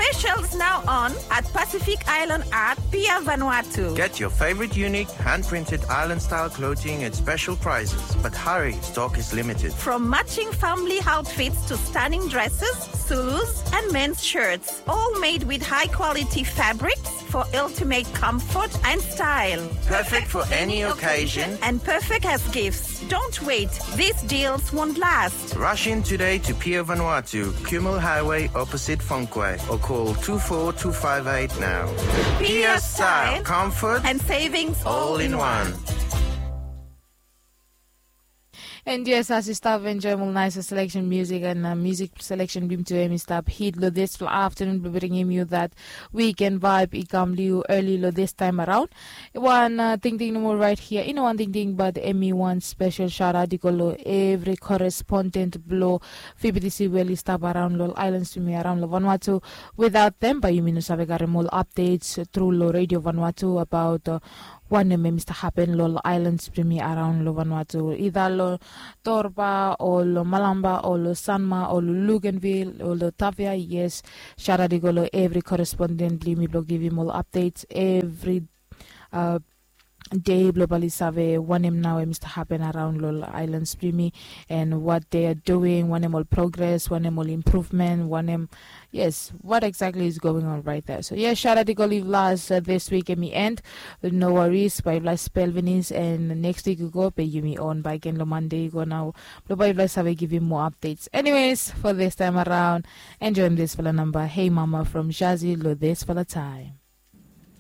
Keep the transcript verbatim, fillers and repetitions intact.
Specials now on at Pacific Island Art, Pier Vanuatu. Get your favorite unique hand-printed island-style clothing at special prices, but hurry, stock is limited. From matching family outfits to stunning dresses, Zulus, and men's shirts, all made with high-quality fabrics for ultimate comfort and style. Perfect for any occasion and perfect as gifts. Don't wait, these deals won't last. Rush in today to Pier Vanuatu, Kumul Highway, opposite Fonquay, or call two four two five eight now. Pier style, comfort, and savings all in one. And yes, as yu stap enjoem ol nice selection music and uh, music selection blong yumi tu, hemi stap hit lo this afternoon, blong bringim yu that weekend vibe i kam lo yu early lo this time around. Wan uh, tingting nomo right here, i no wan tingting, but hemi wan special shout out i go lo every correspondent blo F B T C we oli stap around lo ol islands blong yumi around lo Vanuatu. Without them, bae yumi no save karem ol updates tru lo Radio Vanuatu about uh, wanem hemi stap happen lo ol islands blong yumi around lo Vanuatu, either lo Torba o lo Malampa o lo Sanma o lo Luganville o lo Tavia. Yes, shout out i go lo every correspondent blong yumi blo givim ol updates every uh, day blo bae oli save wanem nao hemi stap happen around lo ol islands blong yumi, and what they are doing, wanem ol progress, wanem ol improvement, wanem, yes, what exactly is going on right there. So yes, shout out i go lo yufala as uh, this week hemi end. No worries, bae yufala spel finis, and next week i go, bae yumi on bakegen lo Monday i go nao, blo bae yufala save givim more updates. Anyways, for this time around, enjoem this fala namba, Hey Mama from Shazzy, lo this fala time.